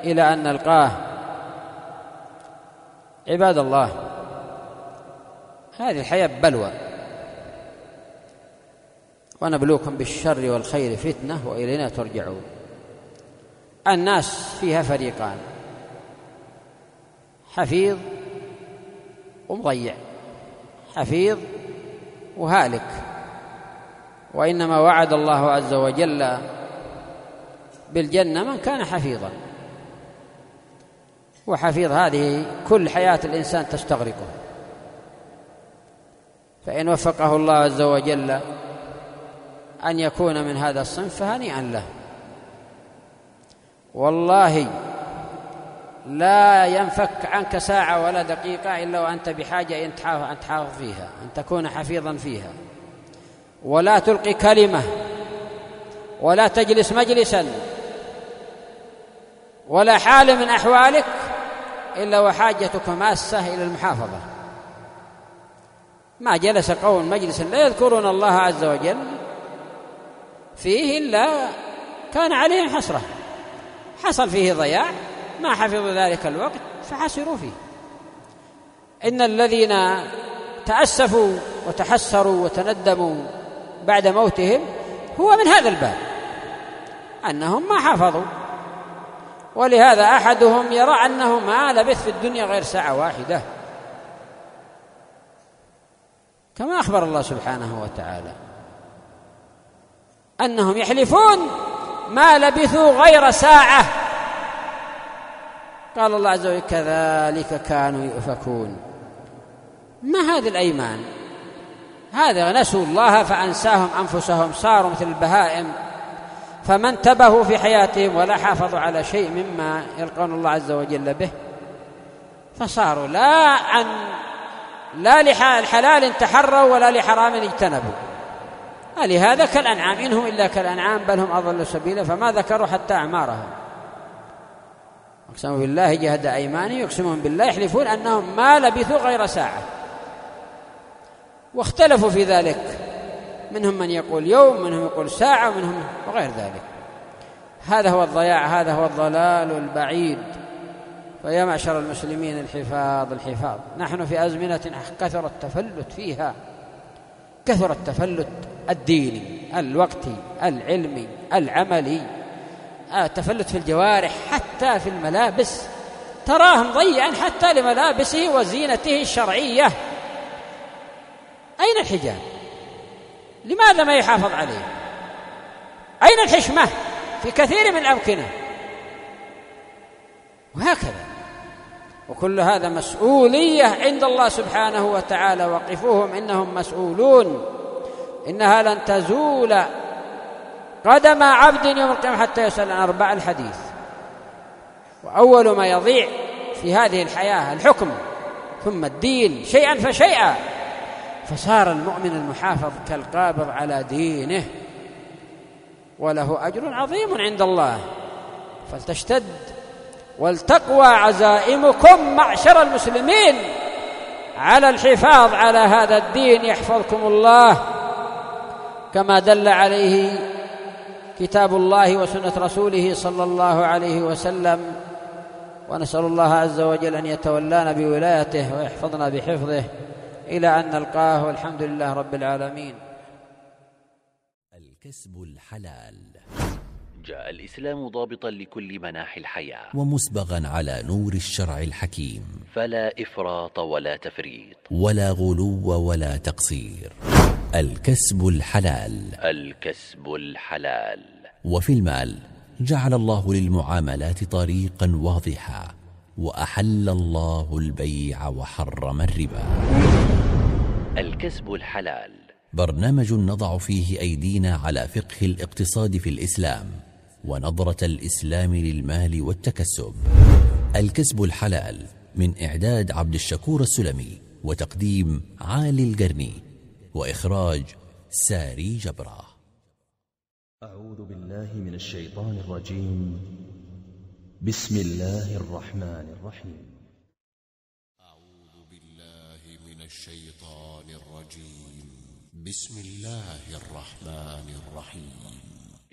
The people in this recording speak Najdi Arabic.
إلى أن نلقاه. عباد الله، هذه الحياة بلوى، ونبلوكم بالشر والخير فتنة وإلينا ترجعون. الناس فيها فريقان: حفيظ ومضيع، حفيظ وهالك. وإنما وعد الله عز وجل بالجنة من كان حفيظا، وحفيظ هذه كل حياة الإنسان تستغرقه، فإن وفقه الله عز وجل أن يكون من هذا الصنف فهنيئا له. والله لا ينفك عنك ساعة ولا دقيقة إلا وأنت بحاجة أن تحافظ فيها، أن تكون حفيظا فيها، ولا تلقي كلمة، ولا تجلس مجلسا، ولا حال من أحوالك إلا وحاجتك ماسة إلى المحافظة. ما جلس قوم مجلسا لا يذكرون الله عز وجل فيه إلا كان عليهم حسرة، حصل فيه ضياع، ما حفظوا ذلك الوقت فحسروا فيه. إن الذين تأسفوا وتحسروا وتندموا بعد موتهم هو من هذا الباب، أنهم ما حفظوا. ولهذا أحدهم يرى أنه ما لبث في الدنيا غير ساعة واحدة، كما أخبر الله سبحانه وتعالى أنهم يحلفون ما لبثوا غير ساعة. قال الله عز وجل: كذلك كانوا يؤفكون. ما هذه الأيمان؟ هذا نسوا الله فأنساهم أنفسهم، صاروا مثل البهائم، فما انتبهوا في حياتهم ولا حافظوا على شيء مما يلقون الله عز وجل به، فصاروا لا لحلال تحروا ولا لحرام اجتنبوا. لهذا كالأنعام، إنهم إلا كالأنعام بل هم أضل سبيلا، فما ذكروا حتى أعمارهم. أقسموا بالله جهد أيمانهم، يقسمون بالله يحلفون أنهم ما لبثوا غير ساعة. واختلفوا في ذلك، منهم من يقول يوم، منهم يقول ساعة، ومنهم وغير ذلك. هذا هو الضياع، هذا هو الضلال البعيد. فيا معشر المسلمين، الحفاظ. نحن في أزمنة كثر التفلت فيها، كثر التفلت الديني، الوقتي، العلمي، العملي، التفلت في الجوارح، حتى في الملابس تراه مضيعا حتى لملابسه وزينته الشرعية. أين الحجاب؟ لماذا ما يحافظ عليه؟ أين الحشمة في كثير من الأمكنة؟ وهكذا. وكل هذا مسؤولية عند الله سبحانه وتعالى، وقفوهم إنهم مسؤولون. إنها لن تزول قدم عبد يوم القيامة حتى يسأل عن 4 الحديث. وأول ما يضيع في هذه الحياة الحكم، ثم الدين شيئا فشيئا، فصار المؤمن المحافظ كالقابض على دينه، وله أجر عظيم عند الله. فلتشتد ولتقوى عزائمكم معشر المسلمين على الحفاظ على هذا الدين، يحفظكم الله كما دل عليه كتاب الله وسنة رسوله صلى الله عليه وسلم. ونسأل الله عز وجل أن يتولانا بولايته ويحفظنا بحفظه إلى أن نلقاه، والحمد لله رب العالمين. الكسب الحلال. جاء الإسلام ضابطا لكل مناحي الحياة، ومسبغا على نور الشرع الحكيم، فلا إفراط ولا تفريط، ولا غلو ولا تقصير. الكسب الحلال. الكسب الحلال. وفي المال جعل الله للمعاملات طريقا واضحا، وأحل الله البيع وحرم الربا. الكسب الحلال برنامج نضع فيه أيدينا على فقه الاقتصاد في الإسلام، ونظرة الإسلام للمال والتكسب. الكسب الحلال من إعداد عبد الشكور السلمي، وتقديم عالي القرني، وإخراج ساري جبرة. أعوذ بالله من الشيطان الرجيم. بسم الله الرحمن الرحيم. أعوذ بالله من الشيطان الرجيم. بسم الله الرحمن الرحيم.